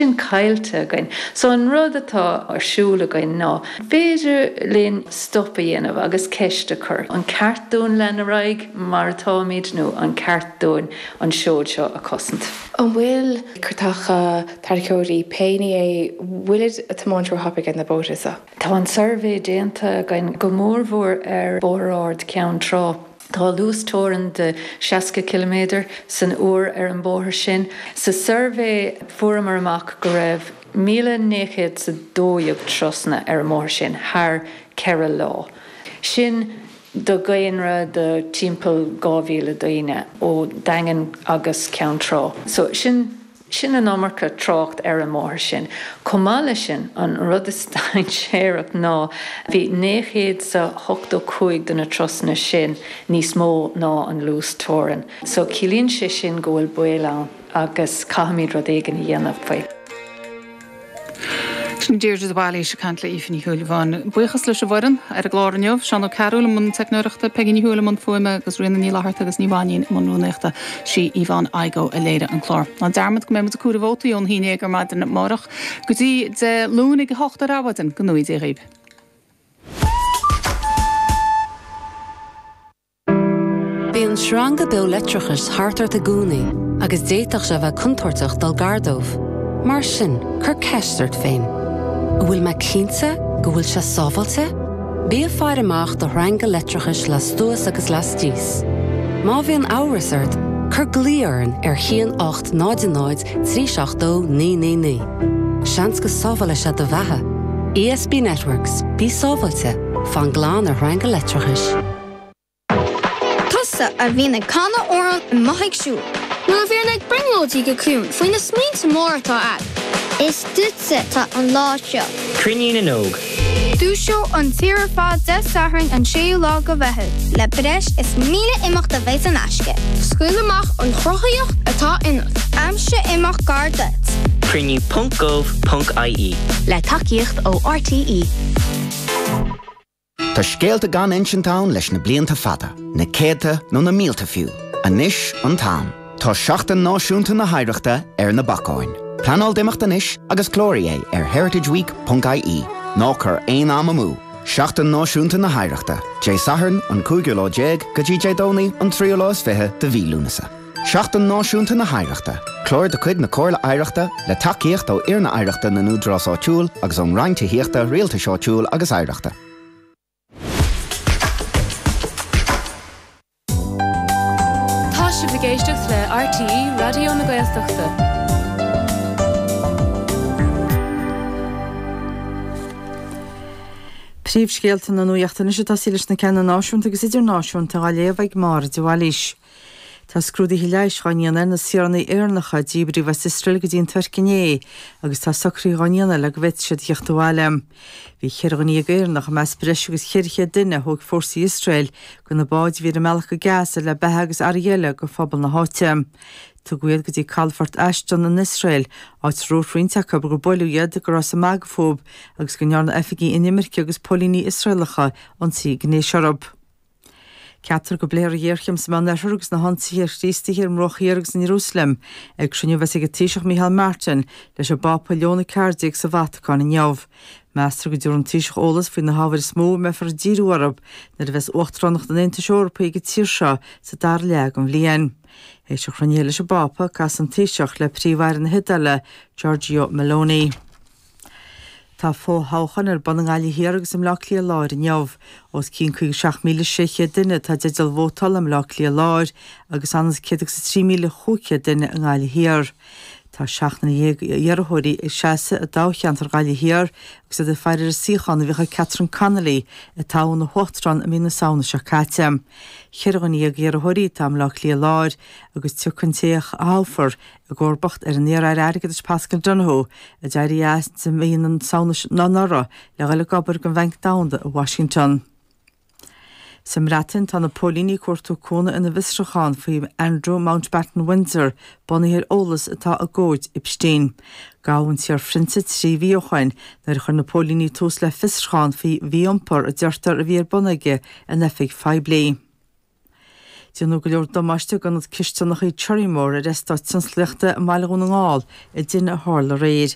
Sin caillte againn. So an rud atá ar siúl againn ná, b'fhéidir linn stop a dhéanamh agus ceist a chur, an ceart dúinn lean ar aghaidh mar atáimid nó an ceart dúinn an seod seo a chosaint? An bhfuil cairteacha tarracóirí, pé ní é, bhfuilid a' tiomáint ró-thapaidh ar na bóithre so? Tá an suirbhé déanta againn, go mórmhór ar Bhóthar Ard Ceann Trá. Tá luasteorainn de 60 ciliméadar san uair ar an bóthar sin. Sa suirbhé fuaireamar amach go raibh 1,912 turasanna ar an mbóthar sin thar 4 lá. Sin do dhaonra de timpeall 2,000 daoine ó Daingean agus Ceann Trá. So sin. Sin an iomarca trácht ar an mbóthar sin. Chomh maith leis sin, an rud is dainséarach ná bhí 985 de na turasanna sin níos mó ná an luas teorann. So ciallaíonn sé sin go bhfuil baol ann agus caithfimid rud éigin a dhéanamh faoi. Sin Deirdre de Bhailís ag caint le Aoife Ní Shúilleabháin. Buíochas leis an bhfoireann ar an gclár inniu, Seán Ó Cearúil i mbun teicneoireachta, Peigí Ní Thuathail i mbun fuaime agus Ríona Ní Fhlatharta agus Ní Mhainín i mbun rúnaíochta. Sí Yvonne Igoe a léirigh an clár. Ná dearmad go mbeidh muid ag comhaireamh vótaí ón haon dhéag ar maidin amárach go dtí Dé Luain ag a hocht ar adhmhaidin. Go ngnóthaí Dia dhaoibh. Bíonn sreanga beo leictreachais thart ort i gcónaí agus d'fhéadfadh sé a bheith contúirteach dul gar dóibh. Mar sin, cuir ceist ort féin, An bhfuil mé cinnte go bhfuil sé sábháilte? Bí ag faire amach do shreanga leictreachais lastuas agus lastíos. Má bhíonn amhras ort, cuir glao orainn ar 1 8 0 0 3 7 2 9 9 9. Seans go sábhálfaidh sé do bheatha. ESB Networks, bí sábháilte, fan glan ar shreanga leictreachais. Tusa a bhíonn ag canadh amhrán amuigh ag siúl. Nó a bhíonn ag brionglóidí go ciúin faoi na smaointe móra atá a'd. Is duitse atá an lá seo. Cruinniú na nÓg. Dúiseoidh an tír ar fad Dé Sathairn an 6ú lá go Mheitheamh. Le breis is 1,000 imeacht a bheidh in aisce. Scaoil amach an chruthaíocht atá ionat. Aimsigh imeacht gar duit. Cruinniú ponc gov ponc ie. Le tacaíocht ó RTÉ. Tá scéalta gan insint ann leis na blianta fada, na céadta nó na mílte fiú. Anois an t-am. Tá Seachtain Náisiúnta na hOidhreachta ar na bacáin. Pleanáil d'imeacht anois agus cláraigh é ar heritageweek ponc ie. Ná cuir aon am amú! Seachtain Náisiúnta na hOidhreachta, Dé Sathairn an cúigiú lá déag go dtí Dé Domhnaigh an tríú lá is fiche de mhí Lúnasa. Seachtain Náisiúnta na hOidhreachta, clár de chuid na Comhairle Oidhreachta le tacaíocht ó Fhoirne Oidhreachta na nÚdarás Áitiúil agus ón Roinn Tithíochta, Rialtais Áitiúil agus Oidhreachta. Tá sibh ag éisteacht le RTÉ Raidió na Gaeltachta. Príomhscéalta na nuachta anois ag tosaí leis na ceanna náisiúnta agus idirnáisiúnta á léamh ag Máire de Bhailís. Tá scrúduithe leighis dhá ndéanamh ar na saoránaigh Éireannacha a díbríodh as Iosrael go dtí an Tuirc inné agus tá socruithe dhá ndéanamh le go bhféadfaidh siad a theacht abhaile. Bhí 14 dhuine Éireannach i measc breis agus 400 duine a thóg fórsaí Iosrael de na báid a bhí ar a mbealach go Gaza le beatha agus earraí eile do phobal na háite. Tugadh iad go dtí calafort Ashdod in Iosrael, áit a dúirt roinnt acu gur buaileadh iad, go rabhthas ag magadh fúthu agus go ndearna oifigigh inimirce agus póilíní Iosraelacha ionsaí gnéis orthu. Ceaptar go bpléifear an ghéarchéim sa Meánoirthear agus na hionsaithe ar Chríostaithe ar an mBruach Thiar agus in Iarúsailéim ag cruinniú a bheas ag an Taoiseach Micheál Martin leis an bPápa Leon 14 sa Vatacáin inniu. Meastar go dtabharfaidh an Taoiseach eolas faoi na hábhair is mó a mbeifear ag díriú orthu nuair a bheas Uachtaránacht an Aontais Eorpaigh ag an tír seo sa dara leath den bhliain. Théis an chruinnithe leis an bPápa, casfaidh an Taoiseach le Príomh-Aire na hIodáile, Giorgio Meloni. Tá fo-thoghcháin ar bun i nGaillimh Thiar agus i mBleá Cliath Láir inniu. Os cionn 57,600 duine atá i dteideal vótála i mBleá Cliath Láir agus ionann is 103,500 duine i nGaillimh Thiar. Tá 17 iarrthóirí ag seasamh i dtoghcheantar Ghaillimh Thiar agus iad ag faire ar an suíochán a bhíodh ag Catherine Connolly a toghadh ina huachtarán i mí na Samhna seo caite. 14 dhuine iarrthóirí atá i mBleá Cliath Láir agus tiocfaidh an té a thoghfar i gcomharbacht ar an iar-aire airgeadais Paschal Donohoe, a d'éirigh as i mí na Samhna anuraidh le dhul ag obair don Bhanc Domhanda i Washington. Sa mBreatain, tá na póilíní ag cuartú cúnamh ina bhfiosrúchán faoi Andrew Mountbatten-Windsor, bunaithe ar eolas atá i gcomhaid Epstein. Gabhadh an t-iarphrionsa 3 mhí ó shoin nuair a chuir na póilíní tús le fiosrúchán faoi mhí-iompar a deirtear a bhí ar bun aige in oifig phoiblí. Déanadh go leor damáiste d'ionad cisteanacha Cherrymore ar eastát tionsclaíochta i mBaile Dhún na nGall i dtine a tharla aréir.